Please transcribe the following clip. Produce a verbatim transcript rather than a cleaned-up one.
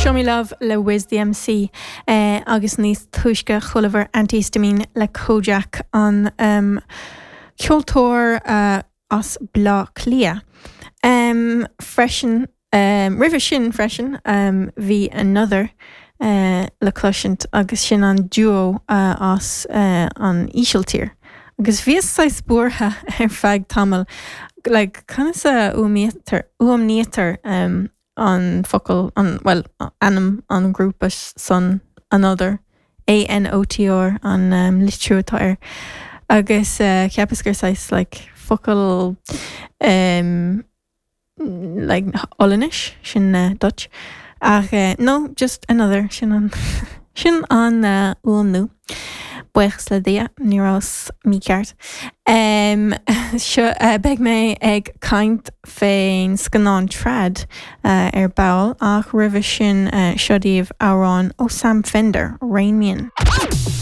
Show Me Love le Wiz the MC eh, agus níos túisce chualamar Antihistamine le Kojaque an um, ceoltóir uh, as Bleá Cliath. Um, freisin um, roimhe sin freisin um, bhí another uh, le cloisint agus sin an duo uh, as uh, an Ísiltír. Agus bhíos saghas buartha ar feadh tamall like, conas a fhuaimnítear um, an focal an well ainm an grúpa san another ANOTR an um, litriú atá air agus uh, cheapas gur saghas like, focal um, like Ollainnis sin uh, Dutch ach uh, no just another sin an sin an uh, fhuaimniú. Buíochas le Dia ní rabhas mícheart. Um, seo uh, beidh mé ag caint fén scannán Trad uh, ar ball ach roimhe sin uh, seo daoibh amhrán ó Sam Fender, Rain Me In.